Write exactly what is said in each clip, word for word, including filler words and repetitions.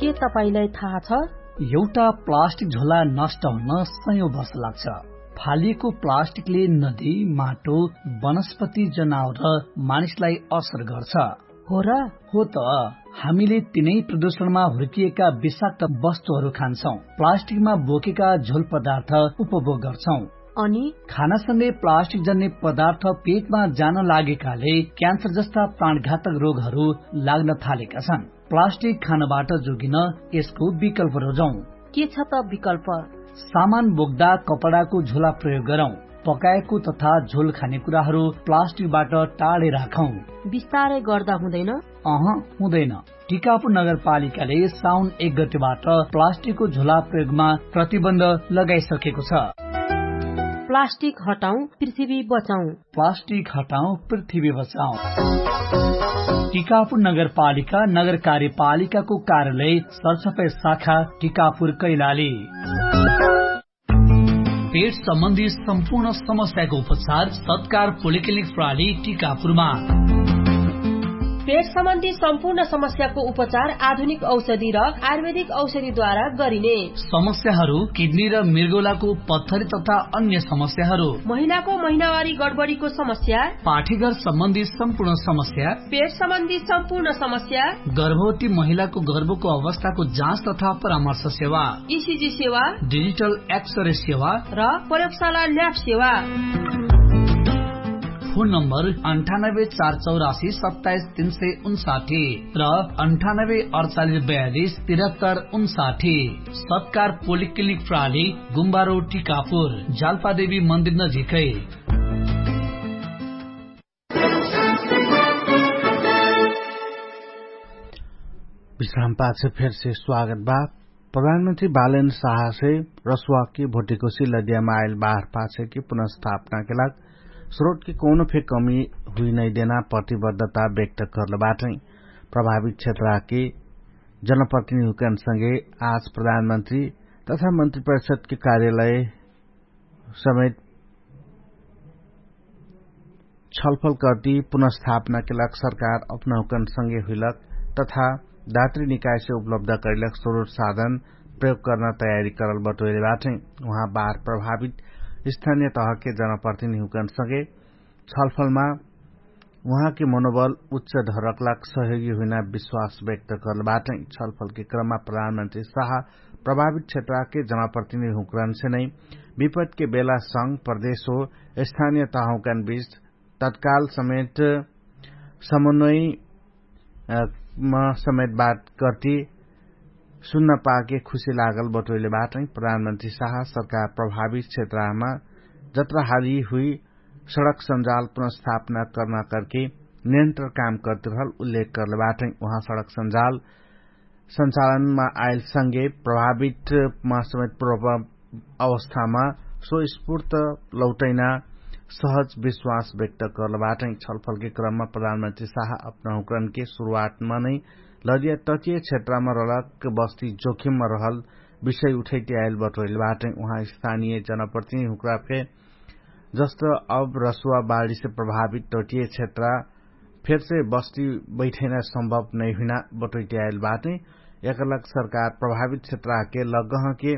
के तपाईंलाई थाहा छ? एउटा प्लास्टिक झोला नष्ट हुन सयौं वर्ष लाग्छ। फालिएको प्लास्टिकले नदी, माटो, वनस्पति, जनावर र मानिसलाई असर गर्छ। हो र? हो त। हामीले तिनै प्रदूषणमा हुर्किएका विषाक्त वस्तुहरू खान्छौं, प्लास्टिकमा बोकेका झोल पदार्थ उपभोग गर्छौं। अनि खानासँगै प्लास्टिक जन्ने पदार्थ पेटमा जान लागेकाले क्यान्सर जस्ता प्राणघातक रोगहरू लाग्न थालेका छन्। प्लास्टिक खानबाट जोगिन यसको विकल्प रोजौं। के छ त विकल्प? सामान बोक्दा कपडाको झोला प्रयोग गरौं। पकाएको तथा झोल खाने कुराहरू प्लास्टिकबाट टाढे राखौं। बिस्तारै गर्दा हुँदैन? अह, हुँदैन। टिकापुर नगरपालिकाले साउन एक गतेबाट प्लास्टिकको झोला प्रयोगमा प्रतिबन्ध लगाइसकेको छ। प्लास्टिक हटाउँ, पृथ्वी बचाउँ। प्लास्टिक हटाउँ, पृथ्वी बचाउँ। टिकापुर नगरपालिका नगर कार्यपालिकाको कार्यालय सरसफाइ शाखा टिकापुर कैलाली। पेट सम्बन्धी सम्पूर्ण समस्याको उपचार सत्कार पोलिक्लिनिक प्रणाली टिकापुरमा। पेट सम्बन्धी सम्पूर्ण समस्याको उपचार आधुनिक औषधि र आयुर्वेदिक औषधिद्वारा गरिने। समस्याहरू किडनी र मृगौलाको पत्थरी तथा अन्य समस्याहरू, महिलाको महिनावारी गडबडीको समस्या, पाठीघर सम्बन्धी सम्पूर्ण समस्या, पेट सम्बन्धी सम्पूर्ण समस्या, गर्भवती महिलाको गर्भको अवस्थाको जाँच तथा परामर्श सेवा, इसिजी सेवा, डिजिटल एक्सरे सेवा र प्रयोगशाला ल्याब सेवा। फोन नम्बर अन्ठानब्बे चार चौरासी सत्ताइस तीन सय उन्साठी र अन्ठानब्बे अडचालिस बयालिस तिरहत्तर उन्साठी। सत्कार पोलिक्लिनिक प्रणाली, गुम्बारो टिकापुर, जालपादेवी मन्दिर नजिकै। विश्राम पाछ फेरसे स्वागत बा। प्रधानमन्त्री बालेन साहसे रसुवाके भोटिकोसी लदियामा आइल बाहर पाछेके पुनर्स्थापनाके लाग स्रोटके कौनो फे कमी हुइ नैदेना प्रतिबद्धता व्यक्त कर्ल बाटै। प्रभावित क्षेत्रके जनप्रतिनिधिकन सँगे आज प्रधानमन्त्री तथा मन्त्री परिषदके कार्यालय समेत छलफल कर्ती पुनर्स्थापनाके लाग सरकार अपनहुकन सँगे हुइलक तथा दात्री निकायसे उपलब्ध करिलक स्रोत साधन प्रयोग कर्ना तयारी करल बटोइले बाटै। उहाँ बार प्रभावित स्थानिय तहके जनप्रतिनिधिकन सँगे छलफलमा उहाँके मनोबल उच्च धरकलाक सहयोगी हुइना विश्वास व्यक्त कर्ल बाटै। छलफलके क्रममा प्रधानमन्त्री साह प्रभावित क्षेत्रके जनप्रतिनिधिहुँकरन्से नै विपतके बेला संग प्रदेश हो स्थानिय तहहुँकन बिच तत्काल समेत समन्वय म समेत बात कर्ती सुन्न पाके खुशी लागल बटोइले बाटै। प्रधानमन्त्री साह सरकार प्रभावित क्षेत्रमा जत्राहाली हुइ सडक सञ्जाल पुनर्स्थापना कर्ना कर्के निरन्तर काम कर्तिरहल उल्लेख कर्ले बाटै। उहाँ सडक सञ्जाल सञ्चालनमा आइल सँगे प्रभावित मा समेत प्रभाव अवस्थामा सो स्फूर्त लौटैना सहज विश्वास व्यक्त कर्ल बाटै। छलफलके क्रममा प्रधानमन्त्री साह अपनहुँकरनके सुरुवातमा नै लदिया तटिय क्षेत्रमा रलक बस्ती जोखिममा रहल विषय उठैते आइल बटोइल बाटै। उहाँ स्थानिय जनप्रतिनिधिहुँकरा फे जस्त अब रसुवा बाढीसे प्रभावित तटिय क्षेत्रा फेरसे बस्ती बैठैना सम्भव नैहुइना बटोइते आइल बाटै। एकलक सरकार प्रभावित क्षेत्राके लगहके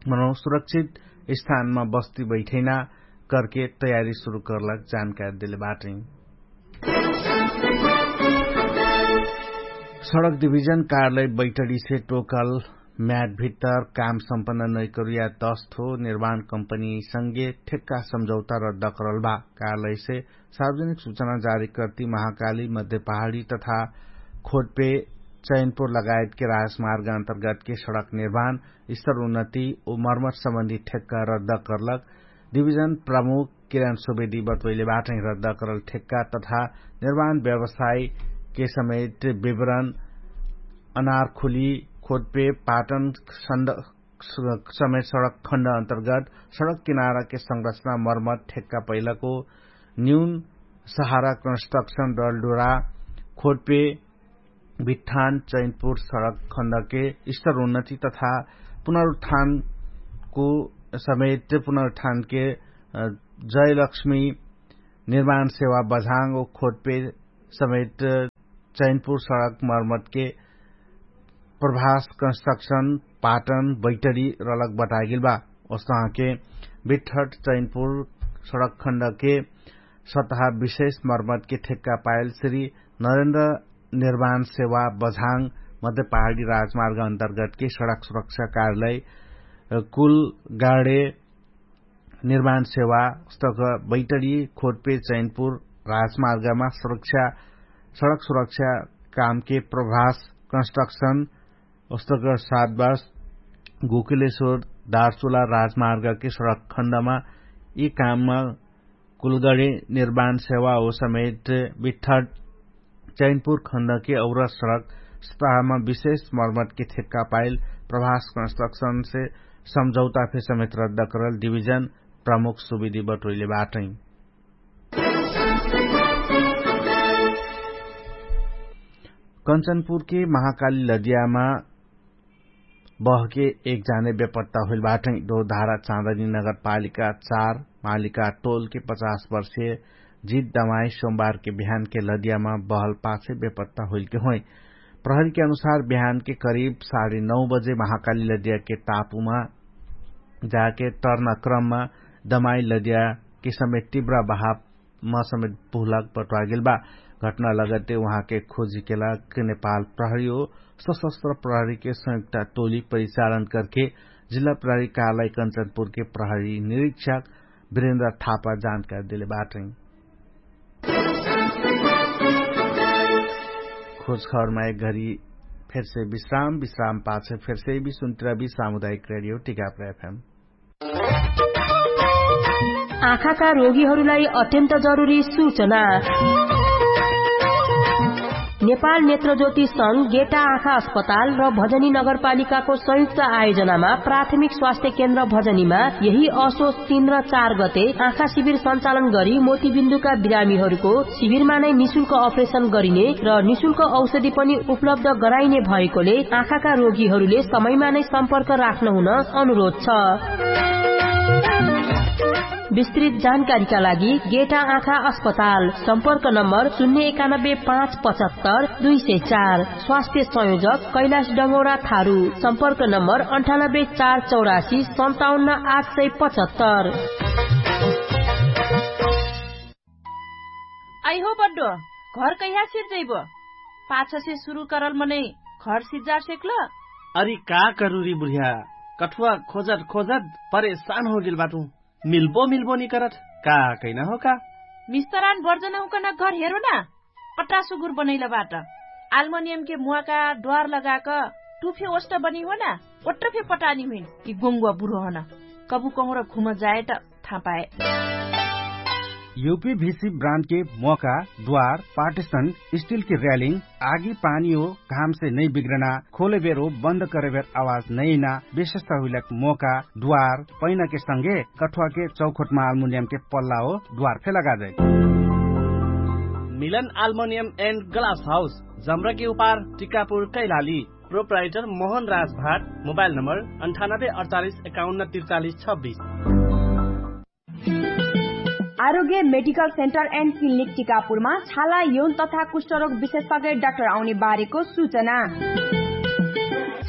मनो सुरक्षित स्थानमा बस्ती बैठैना कर्के तयारी सुरु कर्लक जानकारी देले बाटै। सडक डिभिजन कार्यालय बैठडीसे टोकल म्याट भित्तर काम सम्पन्न नैकरुया दस थो निर्माण कम्पनी सँगे ठेक्का सम्झौता रद्द करल बा। कार्यालयसे सार्वजनिक सुचना जारी कर्ती महाकाली मध्य पहाडी तथा खोटपे चैनपुर लगायतके राजमार्ग अन्तर्गतके सडक निर्माण स्तर उन्नति उ मर्मत सम्बन्धी ठेक्का रद्द कर्लक डिभिजन प्रमुख किरण सुवेदी बटोइले बाटै। रद्द करल ठेक्का तथा निर्माण व्यवसायके समेत विवरण अनारखुली खोटपे पाटन समेत सडक खण्ड अन्तर्गत सडक किनाराके संरचना मर्मत ठेक्का पैलको न्यून सहारा कन्स्ट्रक्सन डलडुरा खोटपे भिट्ठान चैनपुर सडक खण्डके स्तर उन्नति तथा पुनरुत्थानको समेत पुनरुत्थानके जयलक्ष्मी निर्माण सेवा बझाङ ओ खोटपे समेत चैनपुर सडक मर्मतके प्रभास कन्स्ट्रक्शन पाटन बैटरी रलक बटागेल बा। ओसहके बिठट चैनपुर सडक खण्डके सतहा विशेष मर्मतके ठेक्का पाएल श्री नरेन्द्र निर्माण सेवा बझाङ मध्य पहाडी राजमार्ग अन्तर्गतके सडक सुरक्षा कार्यालय कुल गाडे निर्माण सेवा उस्तक बैटरी खोटपे चैनपुर राजमार्गमा सुरक्षा सडक सुरक्षा कामके प्रभास कन्स्ट्रक्शन उस्तक सात बास गोकुलेश्वर दार्चुला राजमार्गके सडक खण्डमा यि काममा कुलगडी निर्माण सेवा हो समेत बिठट चैनपुर खण्डके और सडक सतहमा विशेष मर्मतके ठेक्का पाइल प्रभास कन्स्ट्रक्शनसे सम्झौता फे समेत रद्द करल डिभिजन प्रमुख सुविधि बटोइले बाटै। कन्चनपुरके महाकाली लदियामा बहके एक जाने बेपत्ता होइल बाटै। दोधारा चाँदनी नगरपालिका चार मालिका टोलके पचास वर्षे जित दमाई सोमबारके बिहानके लदियामा बहल पाछे बेपत्ता होइलके होइ। प्रहरीके अनुसार बिहानके करिब साढे नौ बजे महाकाली लदियाके टापुमा जाके टर्ना क्रममा दमाई लदियाके समेत तिब्रा बहावमा समेत भुलक बट्वागेल बा। घटना लगते उहाँके खोजीके लाग नेपाल प्रहरी हो सशस्त्र प्रहरीके संयुक्त टोली परिचालन करके जिल्ला प्रहरी कार्यालय कन्चनपुरके प्रहरी निरीक्षक बिरेन्द्र थापा जानकारी देले बाटै। खोज खबरमा एक घरी फेरसे विश्राम विश्राम पाछे फेरसे विश्राम सामुदायिक रेडियो टिकापुर एफएम। आँखाका रोगीहरूलाई अत्यन्त जरुरी सूचना। नेपाल नेत्रज्योति संघ गेटा आँखा अस्पताल र भजनी नगरपालिकाको संयुक्त आयोजनामा प्राथमिक स्वास्थ्य केन्द्र भजनीमा यही असोच तीन र चार गते आँखा शिविर सञ्चालन गरी मोतीबिन्दुका बिरामीहरूको शिविरमा नै निशुल्क अपरेसन गरिने र निशुल्क औषधि पनि उपलब्ध गराइने भएकोले आँखाका रोगीहरूले समयमा नै सम्पर्क राख्न हुन अनुरोध छ। विस्तृत जानकारीका लागि गेटा आँखा अस्पताल, सम्पर्क नम्बर शून्य एकानब्बे पाँच पचहत्तर दुई सय चार। स्वास्थ्य संयोजक कैलाश डङ्गौरा थारु, सम्पर्क नम्बर अन्ठानब्बे चार चौरासी सन्ताउन्न आठ सय पचहत्तर। आइहो बड्डो, घर कैहा सिर्जैबो? पाछसे सुरु करल मनै घर सिर्जा सेक्ल? अरि का करुरी बुढिया, कठुवा खोजत खोजत परेशान होगेल बाटु। मिल्बो मिल्बो निकरत का कैना हो का? मिस्तरान बर्जन हुकन घर हेरो ना। अट्टा सुगुर बनैल बाट। आल्मोनियमके मुवाका ड्वार लगाक टुफे ओष्ट बनी हो ना। ओट्ट फे पटानी हुइन कि गोङ्गुवा बुढो हन। कबु कहुँर घुम जाए त थाहा पाए। युपी भिसी ब्रान्डके मोका ड्वार पार्टिसन स्टिलके र्यालिङ आगी पानी हो घामसे नै बिग्रना खोलेबेर हो बन्द करेबेर आवाज नैना विशेषता हुइलक मोका ड्वार पैनाके संगे कठुवाके चौखोटमा आल्मुनियमके पल्ला हो ड्वार फे लगाजै। मिलन आल्मुनियम एन्ड ग्लास हाउस जम्रके उपार टिकापुर कैलाली। प्रोप्राइटर मोहन राज भाट। मोबाइल नम्बर अन्ठानब्बे अडचालिस एकाउन्न त्रिचालिस छब्बिस। आरोग्य मेडिकल सेन्टर एन्ड क्लिनिक टिकापुरमा छाला यौन तथा कुष्ठरोग विशेषज्ञ डाक्टर आउने बारेको सूचना।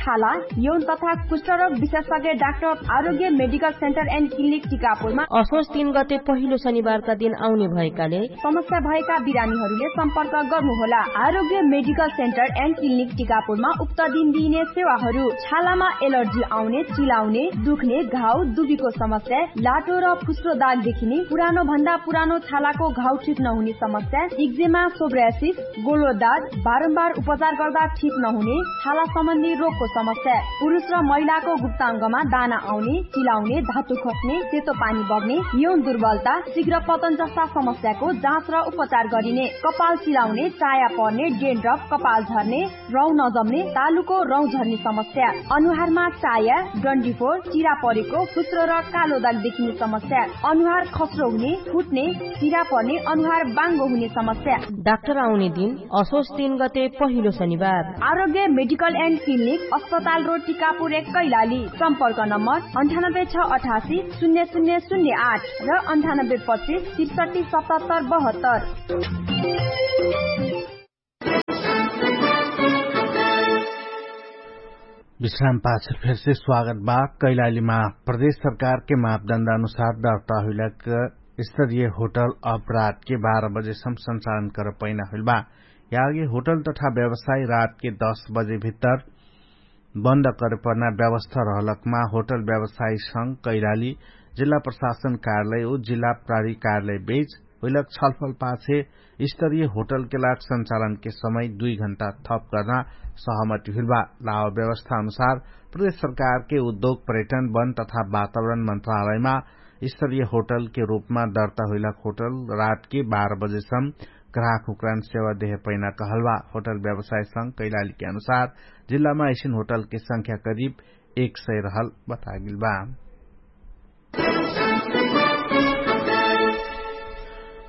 छाला यौन तथा कुष्ठरोग विशेषज्ञ डाक्टर आरोग्य मेडिकल सेन्टर एन्ड क्लिनिक टिकापुरमा असोज तीन गते पहिलो शनिबारका दिन आउने भएकाले समस्या भएका बिरामीहरूले सम्पर्क गर्नुहोला। आरोग्य मेडिकल सेन्टर एन्ड क्लिनिक टिकापुरमा उक्त दिन दिइने सेवाहरू छालामा एलर्जी आउने, चिलाउने, दुख्ने, घाउ दुबीको समस्या, लाटो र फुस्रो दाग देखिने, पुरानो भन्दा पुरानो छालाको घाउ ठिक नहुने समस्या, इक्जेमा, सोब्रासिस, गोलो दाग, बारम्बार उपचार गर्दा ठिक नहुने छाला सम्बन्धी रोगको समस्या, पुरुष र महिलाको गुप्ताङ्गमा दाना आउने, चिलाउने, धातु खस्ने, सेतो पानी बग्ने, यौन दुर्बलता, शीघ्र पतन जस्ता समस्याको जाँच र उपचार गरिने, कपाल चिलाउने, चाया पर्ने, डेन्ड्रफ, कपाल झर्ने, रौँ नजम्ने, तालुको रौँ झर्ने समस्या, अनुहारमा चाया, डन्डीफोर, चिरा परेको, फुस्रो र कालो दाग देखिने समस्या, अनुहार खस्रो हुने, फुट्ने, चिरा पर्ने, अनुहार बाङ्गो हुने समस्या। डाक्टर आउने दिन असोज तीन गते पहिलो शनिबार। आरोग्य मेडिकल एन्ड क्लिनिक, अस्पताल रोड, टिकापुर एक, कैलाली। सम्पर्क नम्बर अन्ठानब्बे छ अठासी शून्य शून्य शून्य आठ र अन्ठानब्बे पच्चिस त्रिसठी सतहत्तर बहत्तर। विश्राम पाछ फेरसे स्वागत बा। कैलालीमा प्रदेश सरकारके मापदण्ड अनुसार दर्ता हुइलक स्तरीय होटल अपराधके बाह्र बजेसम सञ्चालन कर पैना हुइल बा। यागे होटल तथा व्यवसाय रातके दस बजे भित्तर बन्द करे पर्ना व्यवस्था रहलकमा होटल व्यवसाय संग कैलाली जिल्ला प्रशासन कार्यालय उ जिल्ला प्रारी कार्यालय बेच हुइलक छलफल पाछे स्तरीय होटलके लाग सञ्चालनके समय दुई घण्टा थप कर्ना सहमति हुइल बा। लाव व्यवस्था अनुसार प्रदेश सरकारके उद्योग पर्यटन वन तथा वातावरण मन्त्रालयमा स्तरीय होटलके रूपमा दर्ता हुइलक होटल रातके बाह्र बजेसम ग्राहक हुक्रान सेवा देहे पैना कहल बा। होटल व्यवसाय संग कैलालीके अनुसार जिल्लामा ऐसिन होटलके संख्या करिब एक सय रहल बतागिल बा।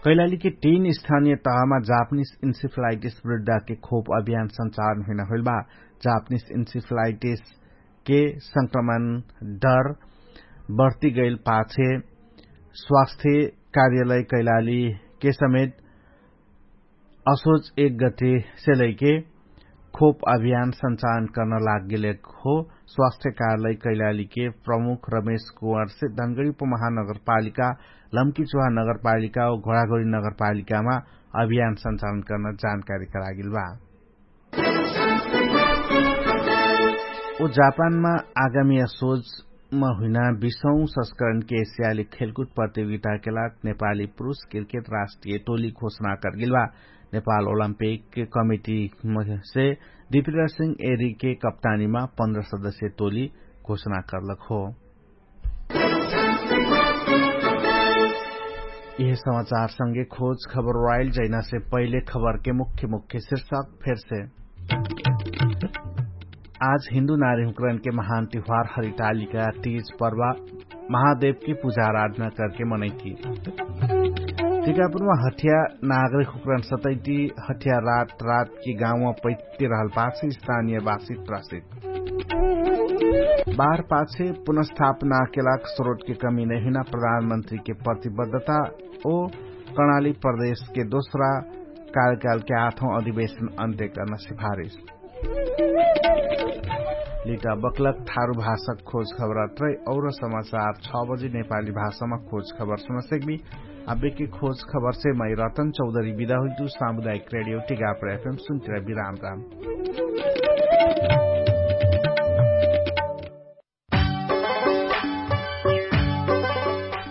कैलालीके तीन स्थानीय तहमा जापनिस इन्सिफलाइटिस वृद्धाके खोप अभियान सञ्चालन हुइना हुइल बा। जापनिस इन्सिफलाइटिसके संक्रमण डर बढ्ती गैल पाछे स्वास्थ्य कार्यालय कैलालीके समेत असोच एक गते सेलैके खोप अभियान सञ्चालन कर्न लाग गेलेक हो। स्वास्थ्य कार्यालय कैलालीके प्रमुख रमेश कुँवरसे धनगडी उपमहानगरपालिका लम्की चुहा नगरपालिका व घोडाघोडी नगरपालिकामा अभियान सञ्चालन कर्न जानकारी करागेल बा। उ जापानमा आगामी असोजमा हुइना बिसौं संस्करणके एसियाली खेलकुट प्रतियोगिताके लाग नेपाली पुरुष क्रिकेट राष्ट्रिय टोली घोषणा करगेल बा। नेपाल ओलम्पिक कमिटीसे दिपिराज सिंह एरीके कप्तानीमा पन्ध्र सदस्य टोली घोषणा करलक हो। यह समाचार संगे खोज खबर वाइल जैनासे पहिले खबरके मुख्य मुख्य शिर्षक फेरसे। आज हिन्दु नारी हुक्रनके महान तिहुवार हरितालिका तीज पर्वा महादेवके पुजा आराधना करके मनैती। टिकापुरमा हठिया नागरिक हुक्रन सतैती हठिया रात रातके गाउँमा पैती रहल पाछ स्थानिय बासित रासित बार पाछे पुनस्थापना केलाक स्रोटके कमी नैहुना प्रधानमन्त्रीके प्रतिबद्धता ओ कर्णाली प्रदेशके दोस्रा कार्यकालके आठौं अधिवेशन अन्त्य कर्न सिफारिस। लिटा बक्लक ठारु भाषक खोज खबरात्रै और समाचार छ बजी नेपाली भाषामा खोज खबर सुनसेकबी। अबेके खोज खबरसे मै रतन चौधरी बिदा हुइतु सामुदायिक रेडियो टिगापर एफएम सुन्तिरा बिराम राम।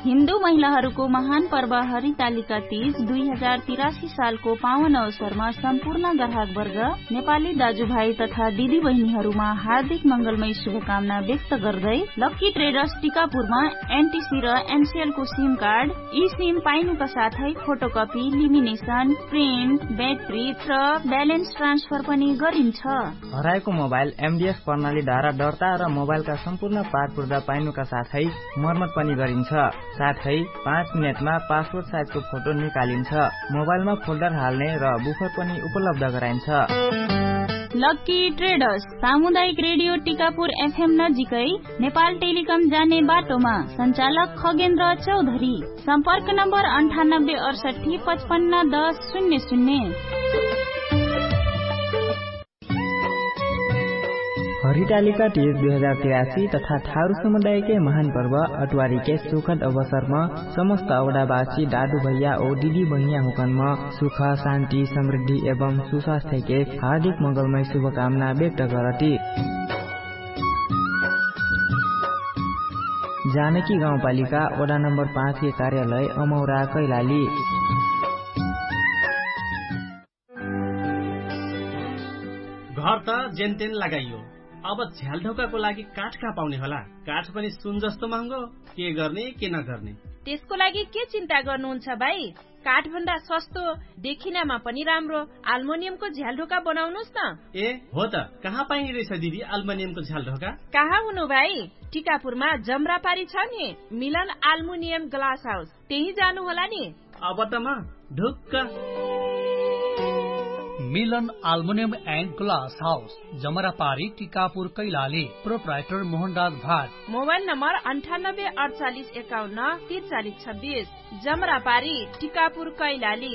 हिन्दु महिलाहरूको महान पर्व हरितालिका तीज दुई हजार तिरासी सालको पावन अवसरमा सम्पूर्ण ग्राहकवर्ग नेपाली दाजुभाइ तथा दिदीबहिनीहरूमा हार्दिक मङ्गलमय शुभकामना व्यक्त गर्दै लक्की ट्रेडर्स टिकापुरमा एनटिसी र एनसिएलको सिम कार्ड, ई सिम पाइनुका साथै फोटोकपी, लिमिनेसन, प्रिन्ट, ब्याट्री र ब्यालेन्स ट्रान्सफर पनि गरिन्छ। हराएको मोबाइल एमडिएस प्रणालीद्वारा दर्ता र मोबाइलका सम्पूर्ण पारपुर्दा पाइनुका साथै मर्मत पनि गरिन्छ। साथै पाँच मिनेटमा पासपोर्ट साइजको फोटो निकालिन्छ। मोबाइलमा फोल्डर हाल्ने र बुफर पनि उपलब्ध गराइन्छ। लक्की ट्रेडर्स सामुदायिक रेडियो टिकापुर एफएम नजिकै नेपाल टेलिकम जाने बाटोमा सञ्चालक खगेन्द्र चौधरी। सम्पर्क नम्बर अन्ठानब्बे अडसट्ठी पचपन्न दस शून्य शून्य। हरितालिका तीज दुई हजार तिरासी तथा ठारु समुदायके महान पर्व अटवारीके सुखद अवसरमा समस्त अवडावासी दादु भैया ओ दिदी बहिनिया हुकनमा सुख, शान्ति, समृद्धि एवं सुस्वास्थ्यके हार्दिक मङ्गलमय शुभकामना व्यक्त गरती। जानकी गाउँपालिका वडा नम्बर पाँचके कार्यालय अमौरा कैलाली। घर त जेनतेन लगाइयो, अब झ्यालढोकाको लागि काठ कहाँ पाउने होला? काठ पनि सुन जस्तो महँगो। के गर्ने के नगर्ने? त्यसको लागि के चिन्ता गर्नुहुन्छ भाइ? काठभन्दा सस्तो, देखिनामा पनि राम्रो आल्मोनियमको झ्यालढोका बनाउनुस् न। ए हो त, कहाँ पाइने रहेछ दिदी आल्मोनियमको झ्यालढोका? कहाँ हुनु भाइ? टिकापुरमा जमरापारी छ नि, मिलन आल्मुनियम ग्लास हाउस, त्यही जानु होला नि। अब त म ढुक्क। मिलन आल्मुनियम एन्ड ग्लास हाउस, जमरापारी, टिकापुर, कैलाली। प्रोप्राइटर मोहनराज भाट। मोबाइल नम्बर अन्ठानब्बे अडचालिस एकाउन्न तिरचालिस छब्बिस। जमरापारी, टिकापुर, कैलाली।